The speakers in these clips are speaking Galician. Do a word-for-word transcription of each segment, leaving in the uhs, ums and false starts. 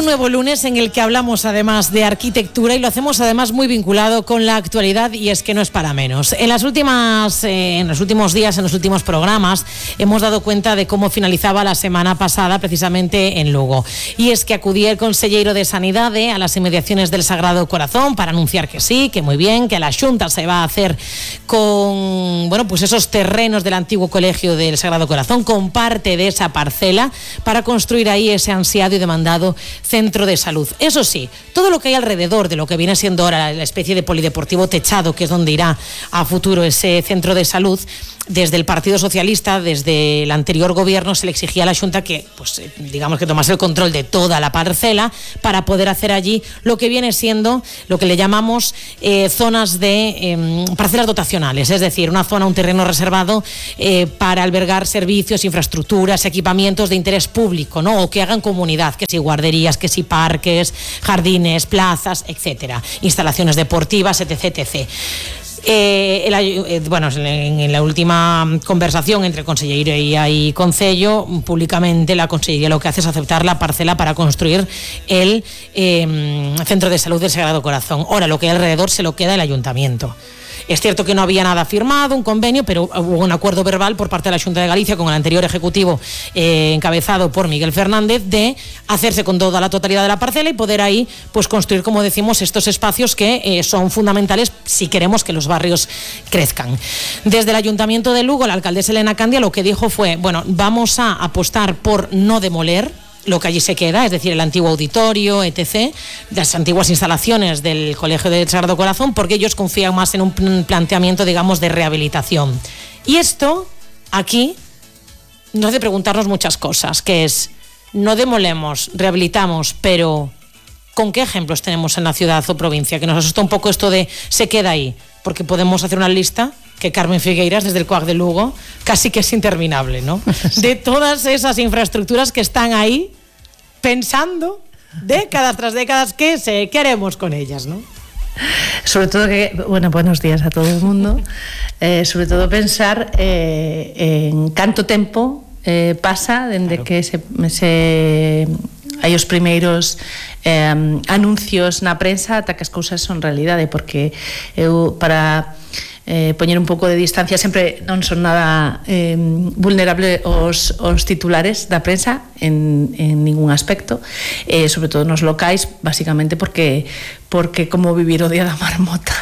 nuevo lunes en el que hablamos además de arquitectura y lo hacemos además muy vinculado con la actualidad, y es que no es para menos. En las últimas, eh, en los últimos días, en los últimos programas, hemos dado cuenta de cómo finalizaba la semana pasada precisamente en Lugo. Y es que acudía el conselleiro de Sanidade a las inmediaciones del Sagrado Corazón para anunciar que sí, que muy bien, que la Xunta se va a hacer con, bueno, pues esos terrenos del antiguo colegio del Sagrado Corazón, con parte de esa parcela, para construir ahí ese ansiado y demandado centro de salud. Eso sí, todo lo que hay alrededor de lo que viene siendo ahora la especie de polideportivo techado, que es donde irá a futuro ese centro de salud, desde el Partido Socialista, desde el anterior gobierno, se le exigía a la Xunta que, pues, digamos que tomase el control de toda la parcela para poder hacer allí lo que viene siendo lo que le llamamos eh, zonas de eh, parcelas dotacionales, es decir, una zona, un terreno reservado eh, para albergar servicios, infraestructuras, equipamientos de interés público, ¿no? O que hagan comunidad, que si guarderías, que si parques, jardines, plazas, etcétera, instalaciones deportivas, etc, etcétera. Eh, el, eh, bueno, en, en la última conversación entre Consellería y Concello, públicamente la Consellería lo que hace es aceptar la parcela para construir el eh, Centro de Salud del Sagrado Corazón. Ahora, lo que hay alrededor se lo queda el Ayuntamiento. Es cierto que no había nada firmado, un convenio, pero hubo un acuerdo verbal por parte de la Xunta de Galicia con el anterior ejecutivo eh, encabezado por Miguel Fernández de hacerse con toda la totalidad de la parcela y poder ahí pues construir, como decimos, estos espacios que eh, son fundamentales si queremos que los barrios crezcan. Desde el Ayuntamiento de Lugo, la alcaldesa Elena Candia lo que dijo fue, bueno, vamos a apostar por no demoler lo que allí se queda, es decir, el antiguo auditorio, etcétera, las antiguas instalaciones del Colegio del Sagrado Corazón, porque ellos confían más en un planteamiento, digamos, de rehabilitación. Y esto, aquí, nos hace preguntarnos muchas cosas, que es, no demolemos, rehabilitamos, pero ¿con qué ejemplos tenemos en la ciudad o provincia? Que nos asusta un poco esto de se queda ahí, porque podemos hacer una lista que Carmen Figueiras, desde el C U A C de Lugo, casi que es interminable, ¿no? De todas esas infraestructuras que están ahí pensando décadas tras décadas qué se, qué haremos con ellas, ¿no? Sobre todo que, bueno, buenos días a todo el mundo. Eh, sobre todo pensar eh, en canto tempo eh, pasa dende claro. que se, se hai os primeiros eh, anuncios na prensa ata que as cousas son realidade, porque eu para Eh, poñer un pouco de distancia, sempre non son nada eh, vulnerable os, os titulares da prensa en, en ningún aspecto, eh, sobre todo nos locais, basicamente porque porque como vivir o día da marmota,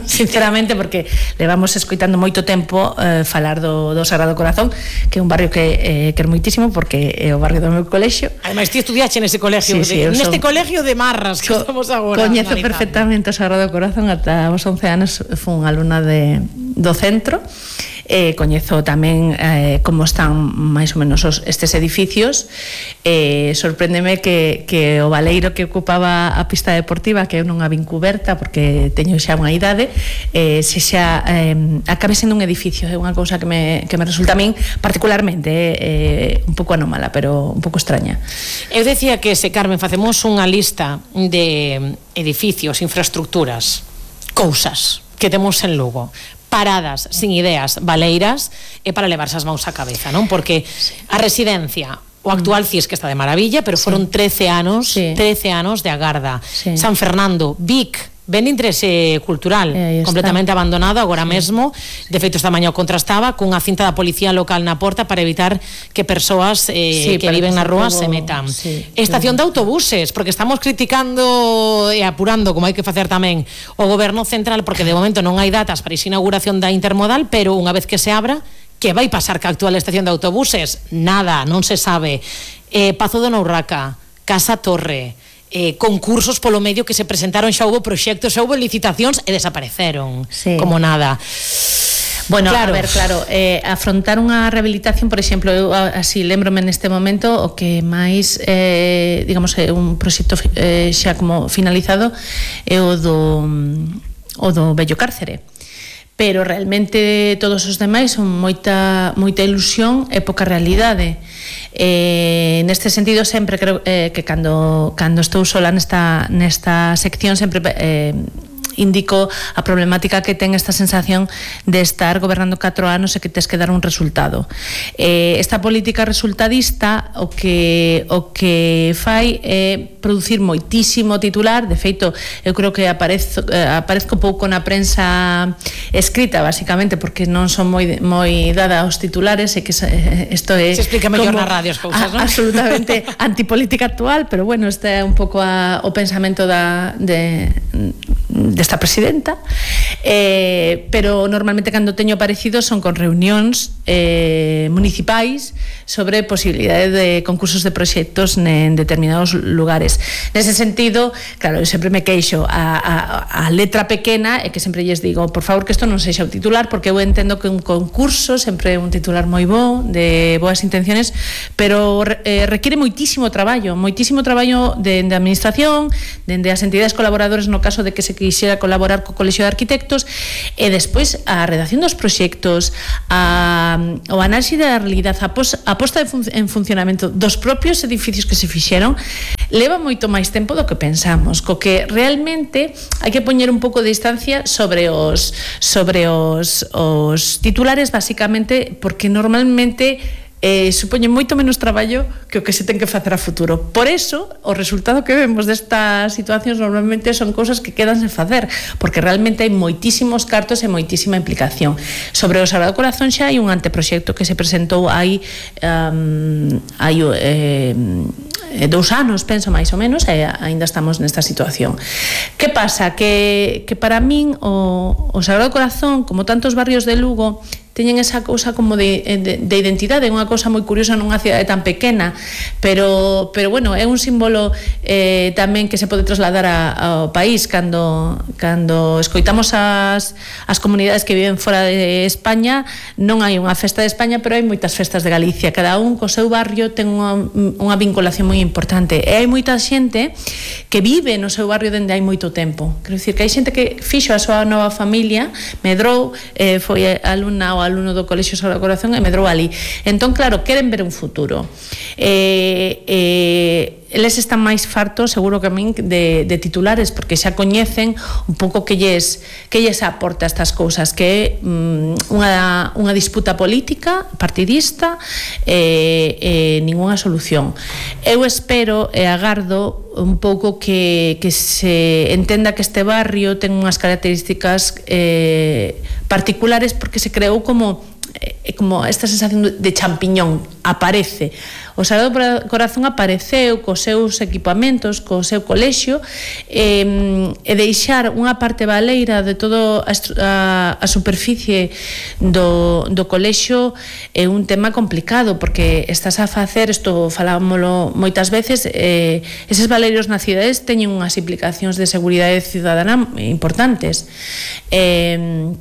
sinceramente, porque levamos escoitando moito tempo eh, falar do, do Sagrado Corazón, que é un barrio que eh, quero moitísimo porque é o barrio do meu colexio. Además, ti estudiaste nese colegio, sí, sí, de, neste son, colegio de Marras que co, estamos agora. Coñezo perfectamente o Sagrado Corazón, ata os once anos fui unha alumna de, do centro. Eh, coñezo tamén eh, como están máis ou menos os, estes edificios. Eh, sorpréndeme que, que o baleiro que ocupaba a pista deportiva, que eu non a vin cuberta porque teño xa unha idade, eh, se xa eh, acabe sendo un edificio. É unha cousa que me, que me resulta a min particularmente eh, un pouco anómala, pero un pouco extraña. Eu decía que se, Carmen, facemos unha lista de edificios, infraestructuras, cousas que temos en Lugo, paradas, sin ideas, baleiras, é para levarse as mãos á cabeza, non? Porque a residencia, o actual C I S, que está de maravilla, pero foron trece anos, sí. trece anos de agarda. Sí. San Fernando, Vic, ben interese cultural, eh, completamente abandonado agora sí. mesmo. De feito, esta mañá o contrastaba cunha cinta da policía local na porta para evitar que persoas eh, sí, que viven na rúa se metan. Sí, Estación sí. de autobuses, porque estamos criticando e apurando, como hai que facer tamén, o goberno central, porque de momento non hai datas para esa inauguración da intermodal, pero unha vez que se abra, que vai pasar ca actual estación de autobuses? Nada, non se sabe. Eh, Pazo de Nourraca, Casa Torre, Eh, concursos polo medio que se presentaron, xa houve proxectos, xa houve licitacións e desapareceron sí. como nada. Bueno, claro. a ver, claro, eh, afrontar unha rehabilitación, por exemplo, eu así lembrome neste momento o que máis eh, digamos, é un proxecto eh, xa como finalizado é o do o do vello cárcere, pero realmente todos os demais son moita moita ilusión e pouca realidade. Eh, neste sentido, sempre creo eh, que cando, cando estou sola nesta, nesta sección sempre eh, indico a problemática que ten esta sensación de estar gobernando catro anos e que tes que dar un resultado. Eh, esta política resultadista o que o que fai é producir moitísimo titular. De feito, eu creo que aparezo, eh, aparezco pouco na prensa escrita, basicamente porque non son moi moi dada aos titulares e que isto é... Se explica mellor na radio as cousas, non? Absolutamente antipolítica actual, pero bueno, este é un pouco a, o pensamento da de desta presidenta, eh, pero normalmente cando teño aparecido son con reunións eh, municipais sobre posibilidades de concursos de proxectos en determinados lugares. Nese sentido, claro, eu sempre me queixo a, a, a letra pequena e que sempre lles digo, por favor, que isto non sexa o titular, porque eu entendo que un concurso sempre é un titular moi bo, de boas intenciones, pero eh, requiere moitísimo traballo, moitísimo traballo de, de administración, de, de as entidades colaboradores no caso de que se quixera colaborar co Colexio de Arquitectos, e despois a redacción dos proxectos, a, o análise da realidade, a, pos, a posta de fun, en funcionamento dos propios edificios que se fixeron, leva moito máis tempo do que pensamos, co que realmente hai que poñer un pouco de distancia sobre os sobre os, os titulares, basicamente porque normalmente eh, supoñen moito menos traballo que o que se ten que facer a futuro. Por eso, o resultado que vemos destas situacións normalmente son cousas que quedan sen facer, porque realmente hai moitísimos cartos e moitísima implicación. Sobre o Sagrado Corazón xa hai un anteproxecto que se presentou hai um, hai eh, dous anos, penso, máis ou menos, e aínda estamos nesta situación. Que pasa? Que, que para min o, o Sagrado Corazón, como tantos barrios de Lugo, teñen esa cousa como de, de, de identidade, é unha cousa moi curiosa nunha cidade tan pequena, pero, pero bueno, é un símbolo eh, tamén que se pode trasladar a, ao país. Cando, cando escoitamos as, as comunidades que viven fora de España, non hai unha festa de España, pero hai moitas festas de Galicia, cada un co seu barrio ten unha, unha vinculación moi importante, e hai moita xente que vive no seu barrio dende hai moito tempo. Quero dicir que hai xente que fixo a súa nova familia, medrou, eh, foi alumna ou alumno do Colexio Sagrado Corazón e medrou ali. Entón, claro, queren ver un futuro. Eh, eh, eles están máis fartos, seguro que a min, de, de titulares, porque xa coñecen un pouco que lles, que lles aporta estas cousas, que é um, unha, unha disputa política, partidista, e eh, eh, ninguna solución. Eu espero e agardo un pouco que, que se entenda que este barrio ten unhas características eh, particulares, porque se creou como eh, como esta sensación de champiñón, aparece. O Sagrado Corazón apareceu cos seus equipamentos, co seu colexio, e, e deixar unha parte baleira de todo a, a, a superficie do, do colexio é un tema complicado, porque estás a facer, isto falámoslo moitas veces, eh, eses baleiros nas cidades teñen unhas implicacións de seguridade cidadana importantes. Eh,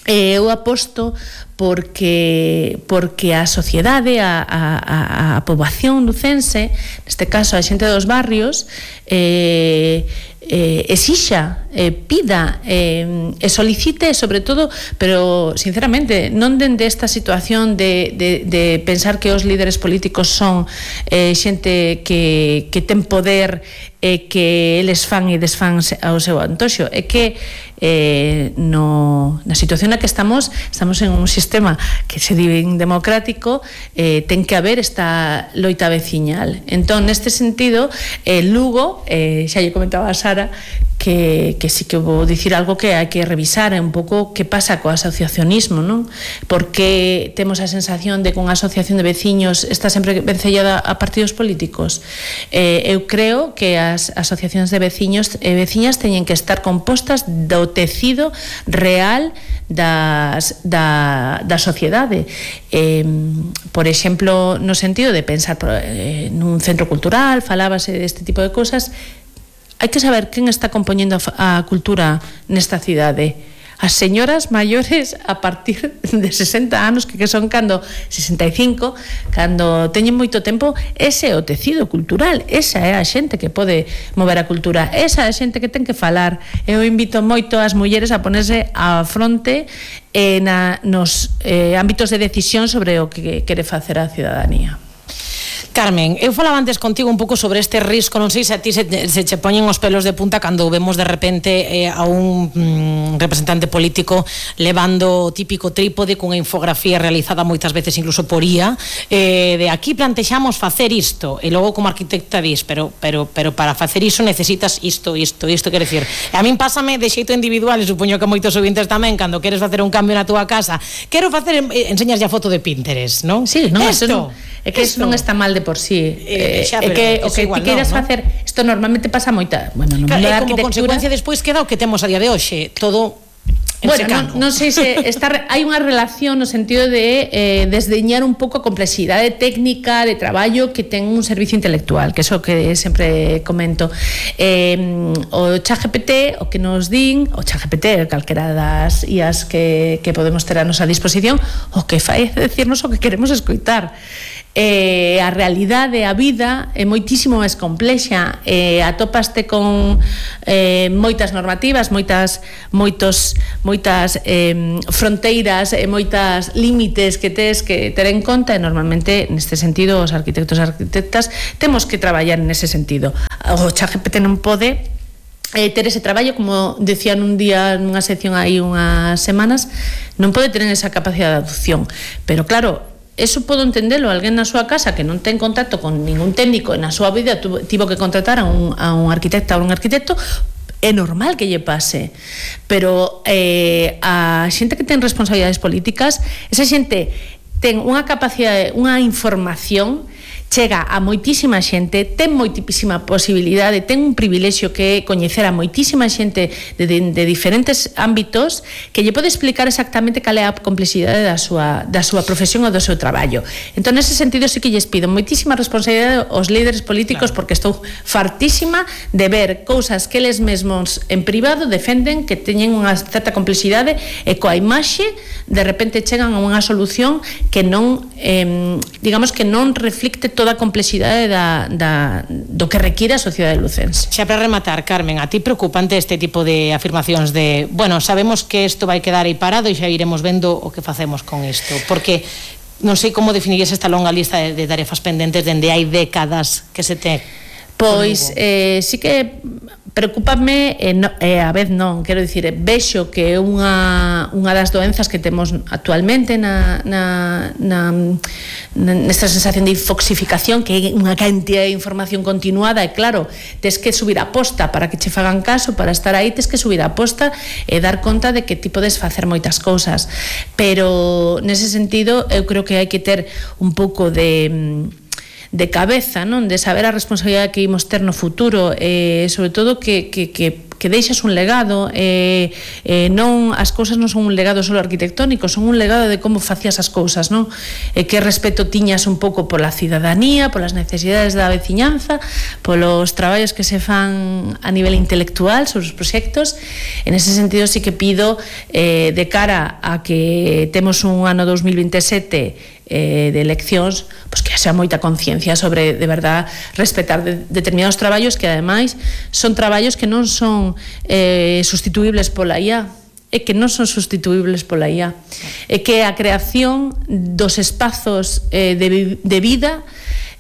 eu aposto porque porque a sociedade, a, a, a poboación lucense, neste caso a xente dos barrios, eh, eh, exixa, eh, pida eh, e solicite, sobre todo, pero sinceramente non dende esta situación de, de, de pensar que os líderes políticos son eh, xente que, que ten poder e que eles fan e desfan ao seu antoxo, é que eh, no, na situación na que estamos estamos en un sistema que se di democrático, eh, ten que haber esta loita veciñal. Entón, neste sentido, eh, Lugo, eh, xa lle comentaba a Sara, que, que sí que vou dicir algo que hai que revisar un pouco que pasa co asociacionismo, non? Porque temos a sensación de que unha asociación de veciños está sempre vencellada a partidos políticos. Eh, eu creo que as asociacións de veciños e veciñas teñen que estar compostas do tecido real das, da, da sociedade. Eh, por exemplo, no sentido de pensar eh, nun centro cultural, falábase deste tipo de cosas. Hai que saber quen está compoñendo a cultura nesta cidade. As señoras maiores a partir de sesenta anos, que, que son cando sesenta e cinco, cando teñen moito tempo, ese é o tecido cultural, esa é a xente que pode mover a cultura, esa é a xente que ten que falar. Eu invito moito as mulleres a ponerse á fronte eh, na, nos eh, ámbitos de decisión sobre o que quere facer a cidadanía. Carmen, eu falaba antes contigo un pouco sobre este risco, non sei se a ti se, se che poñen os pelos de punta cando vemos de repente eh, a un mm, representante político levando o típico trípode cunha infografía realizada moitas veces incluso por I A, eh, de aquí plantexamos facer isto, e logo como arquitecta dis, pero, pero, pero para facer iso necesitas isto, isto, isto, quero dicir, a min pásame de xeito individual, e supoño que moitos ouvintes tamén, cando queres facer un cambio na túa casa, quero facer, eh, enseñas ya foto de Pinterest, non? Sí, non, isto, non, é que isto non está mal de por sí. Eh, xa, é que o que ti queiras no, facer, isto normalmente pasa moita, bueno, no claro, mundo da como arquitectura. Consecuencia despois queda o que temos a día de hoxe, todo. Bueno, non, non sei se está, hai unha relación no sentido de eh, desdeñar un pouco a complexidade técnica de traballo que ten un servicio intelectual, que é o que sempre comento. Eh, o ChatGPT, o que nos din, o ChatGPT, calquera das I As que, que podemos ter a nosa disposición, o que fai é decirnos o que queremos escoitar. Eh, a realidade, a vida é moitísimo máis complexa, eh, atópaste con eh, moitas normativas, moitas moitos moitas eh, fronteiras e moitas límites que tes que ter en conta, e normalmente neste sentido os arquitectos e arquitectas temos que traballar nese sentido. O ChatGPT non pode Eh, ter ese traballo, como decían un día nunha sección aí unhas semanas, non pode ter esa capacidade de adopción, pero claro, eso podo entendelo, alguén na súa casa que non ten contacto con ningún técnico e na súa vida tivo que contratar a un, a un arquitecta ou un arquitecto, é normal que lle pase, pero eh, a xente que ten responsabilidades políticas, esa xente ten unha capacidade, unha información, chega a moitísima xente, ten moitísima posibilidade, ten un privilexio que é coñecer a moitísima xente de, de, de diferentes ámbitos que lle pode explicar exactamente cal é a complexidade da súa, da súa profesión ou do seu traballo. Entón, nese sentido, sí que lles pido moitísima responsabilidade aos líderes políticos, claro, porque estou fartísima de ver cousas que eles mesmos en privado defenden que teñen unha certa complexidade e coa imaxe de repente chegan a unha solución que non, eh, digamos que non reflicte toda a complexidade da, da, do que require a sociedade lucense. Xa para rematar, Carmen, a ti preocupante este tipo de afirmacións de, bueno, sabemos que isto vai quedar aí parado e xa iremos vendo o que facemos con isto, porque non sei como definirías esta longa lista de, de tarefas pendentes dende hai décadas que se te... Pois, eh, sí que preocúpame, e, no, e a vez non, quero dicir, vexo que é unha, unha das doenzas que temos actualmente na, na, na, nesta sensación de infoxificación, que é unha cantidad de información continuada, e claro, tes que subir a posta para que che fagan caso, para estar aí tes que subir a posta e dar conta de que ti podes facer moitas cousas, pero nese sentido eu creo que hai que ter un pouco de de cabeza, non? De saber a responsabilidade que imos ter no futuro, e eh, sobre todo que, que, que, que deixas un legado, eh, eh, non, as cousas non son un legado só arquitectónico, son un legado de como facías as cousas, non? E que respeto tiñas un pouco pola cidadanía, polas necesidades da veciñanza, polos traballos que se fan a nivel intelectual sobre os proxectos. En ese sentido sí que pido, eh, de cara a que temos un ano dos mil veintesete Eh, de eleccións, pois que xa moita conciencia sobre, de verdad, respetar de, determinados traballos que ademais son traballos que non son eh, sustituibles pola I A, e que non son sustituibles pola I A, e que a creación dos espazos eh, de, de vida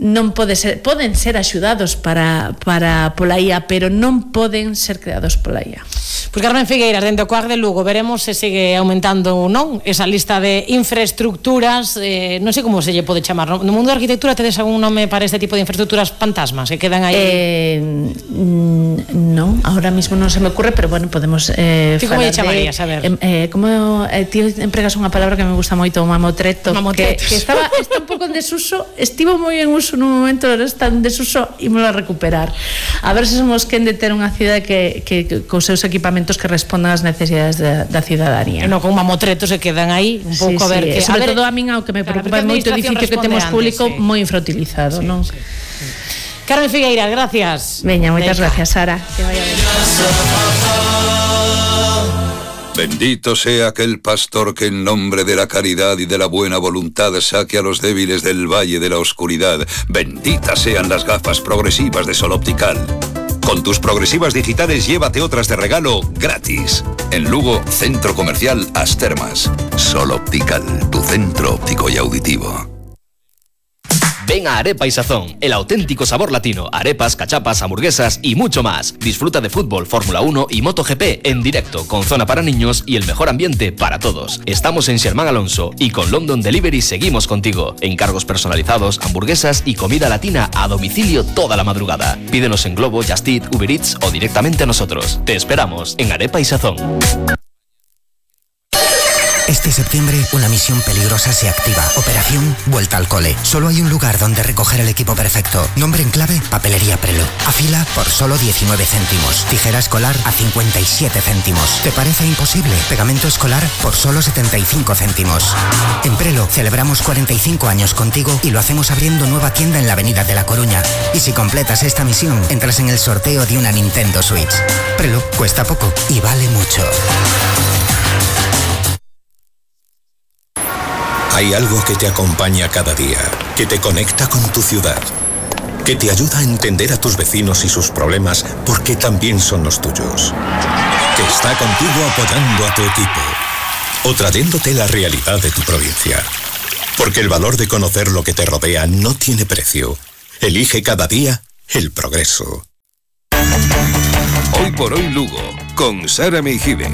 non pode ser, poden ser axudados para, para pola I A, pero non poden ser creados pola I A. Pois Carmen Figueiras, dentro do C O A C de Lugo, veremos se segue aumentando ou non esa lista de infraestructuras, eh, non sei como se lle pode chamar, no, no mundo da arquitectura tedes algún nome para este tipo de infraestructuras fantasmas que quedan aí? Eh, non, ahora mismo non se me ocurre, pero bueno, podemos eh, ti como lle chamarías, a ver? Eh, como eh, ti empregas unha palabra que me gusta moito, o mamotreto, que, que estaba, está un pouco en desuso, estivo moi en uso nun momento, ahora está en desuso e me lo a recuperar. A ver se somos quen de ter unha cidade que, que, que cos seus equipamentos que respondan ás necesidades da, da cidadanía. No, con mamotretos se quedan aí un pouco, sí, a ver, sí, que sobre a ver, todo a min ao que me preocupa moito o edificio que temos público, sí, moi infrautilizado, sí, non? Sí, sí. Carmen Figueiras, gracias. Veña, moitas gracias, Sara. Que vaya ben. Bendito sea aquel pastor que en nombre de la caridad y de la buena voluntad saque a los débiles del valle de la oscuridad. Benditas sean las gafas progresivas de Sol Optical. Con tus progresivas digitales llévate otras de regalo gratis. En Lugo, Centro Comercial As Termas. Sol Optical, tu centro óptico y auditivo. Ven a Arepa y Sazón, el auténtico sabor latino. Arepas, cachapas, hamburguesas y mucho más. Disfruta de fútbol, Fórmula uno y MotoGP en directo, con zona para niños y el mejor ambiente para todos. Estamos en Sherman Alonso y con London Delivery seguimos contigo. Encargos personalizados, hamburguesas y comida latina a domicilio toda la madrugada. Pídenos en Globo, Just Eat, Uber Eats o directamente a nosotros. Te esperamos en Arepa y Sazón. Este septiembre, una misión peligrosa se activa. Operación Vuelta al Cole. Solo hay un lugar donde recoger el equipo perfecto. Nombre en clave, Papelería Prelo. Afila por solo diecinueve céntimos. Tijera escolar a cincuenta y siete céntimos. ¿Te parece imposible? Pegamento escolar por solo setenta y cinco céntimos. En Prelo celebramos cuarenta y cinco años contigo y lo hacemos abriendo nueva tienda en la Avenida de La Coruña. Y si completas esta misión, entras en el sorteo de una Nintendo Switch. Prelo cuesta poco y vale mucho. Hay algo que te acompaña cada día, que te conecta con tu ciudad, que te ayuda a entender a tus vecinos y sus problemas porque también son los tuyos, que está contigo apoyando a tu equipo o trayéndote la realidad de tu provincia. Porque el valor de conocer lo que te rodea no tiene precio. Elige cada día el progreso. Hoy por hoy Lugo, con Sara Meijide.